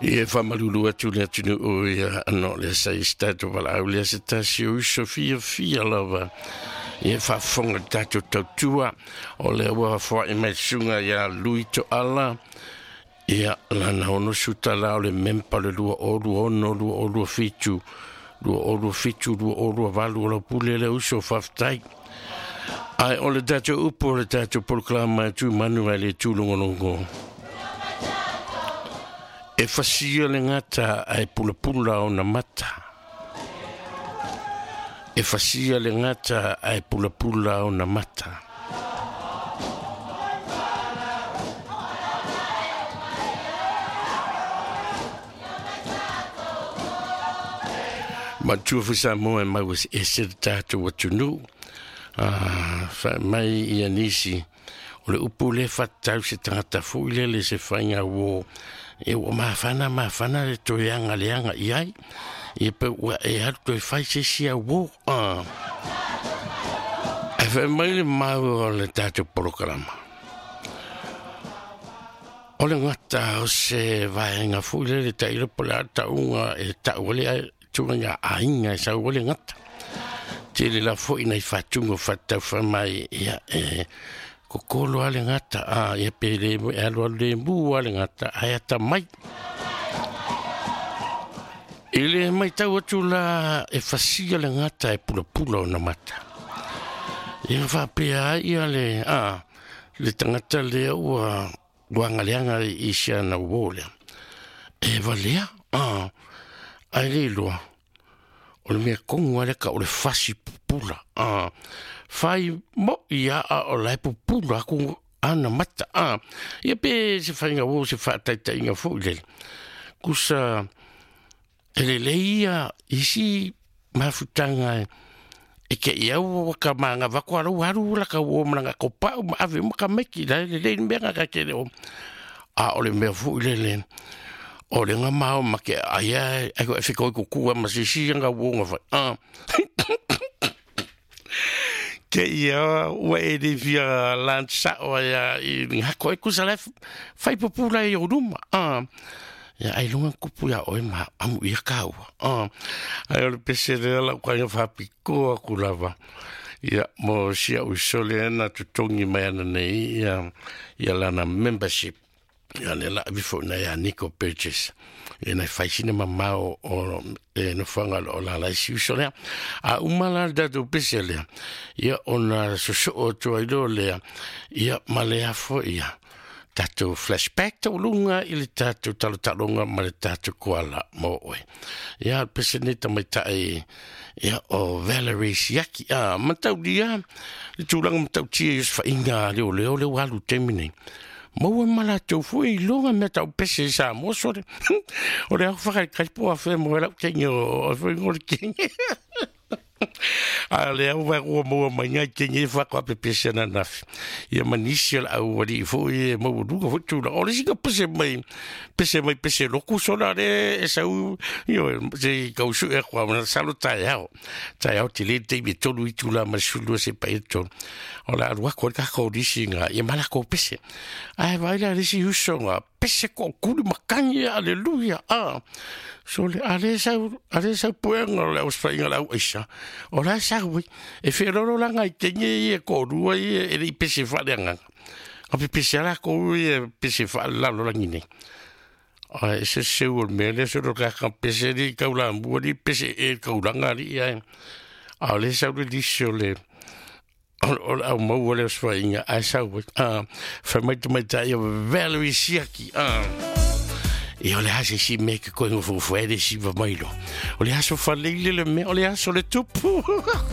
Ia faamalulu atu le atunuu ia ana o le sa i se tatou valaau lea se tasi o uso fiafia lava ia faafofoga le tatou tautua o lea ua foai mai susuga ia Lui Toala ia lana 60 tala o le mempa le 2026 2027 2027 2028 o lau pule le uso faafetai. Ae o le tatou upu o le tatou polokalama e tu manu ai le tūlogologo. E fasia le gata ae pulapula ona mata. E fasia le gata ae pulapula ona mata. Matua foi Samoa e mau e se le tatou atunuu. Fa mai ia nisi o le upu le faatatau se tagata foi lele se faiga uo e ua mafana mafana le toe aga leaga i ai ia pe ua e alu toe fai se isi auō. Ae fai mai le mau o le tatou polokalama. O le gata o se vaega foi lele tailo po o le a tauga e tau ale ai tulaga aiga e sau ai le gata. Tele la foi nai faatuga o faatau mai ia e kokolo a le gata a ia pe le e alu alu le mu a le gata ae ata mai. I le matau atu la e fasia le gata e pulapula ona mata. Ia faapea ai ia le a le tagata lea ua ua agaleaga i si ana uō lea. E valea, a ae le iloa o le mea tonu lava lea ka o le fasi pupula. A fai moi a o la e pupula atu ana mata. A ia pe se faiga uo se faataitaiga foi lele. Kusa e lelei ia isi mafutaga e ke i au ka manga vako alo alu la ka o malanga ko pau ma ave ma ka meki la le le mea ka ke le o a o le mea foi lele o le nga mao ma ke ai ai ko e fiko ko kua ma sisi nga wo nga fa a ke ia ua e le fia lansa o ia i nga ko e kusa le fai pupula i o luma a ia ai lunga kupu ia oe ma amu ia kaua. Ai o le pese lea lau kainga faapikoa aku lava. Ia mo sia uso lea na totogi mai ana nei ia, ia lana membership. Ia le la avi foi na ia Nico Burgess. Ia nai fai sina mamao o e nofoaga o la lai si uso lea. A uma la le tatou pese lea. Ia ona sosoo atu ai loa lea. Ia ma le afo ia tatou flashback tauluga i le tatou talotaloga ma le tatou koala mo oe. Ia pese nei tamaitai ia o Valerie Siaki a mataulia le tulaga matautia i osofaiga a leoleo le ua alu taimi nei. Maua ma latou foi iloga mea tau pese i Samoa sole. O le au whakaikai po a whea mo e lau kenge o whai ngore kenge. A le au vai ua maua mai ngai kenge e whako ape pese na nafi. Ia manisi o le au wali foi e maua luga foi tula. O le sika pese mai pese loku sola le e sau, io se kau su e kwa mana salo tai ao. Tai ao te le te i tolu i tula ma sulua se pa e tolu. O le alu ako ka ko risi ngā, ia mala ko pese. Ai vai la risi uso ngā, pese ko kuli makangi, aleluia. Ah. So le ale sau, ale sau puenga o le ausfainga lau aisa. O la sau e whenoro la ngai kenge i e kōrua i e le i pese whaale anganga. A pe pese ala ko i e pese whaale lalo langi nei. A e se seu o le mea lea solo ka ka pese li kau la mua li pese e kaulanga li ia. A o le sau le lisi o le o le au maua le osfainga ai sau a whai mai te mai tai o Valerie Siaki a ia o le ase si me ke koe ngofo le si va mailo o le aso whaleile le mea o le aso le tupu.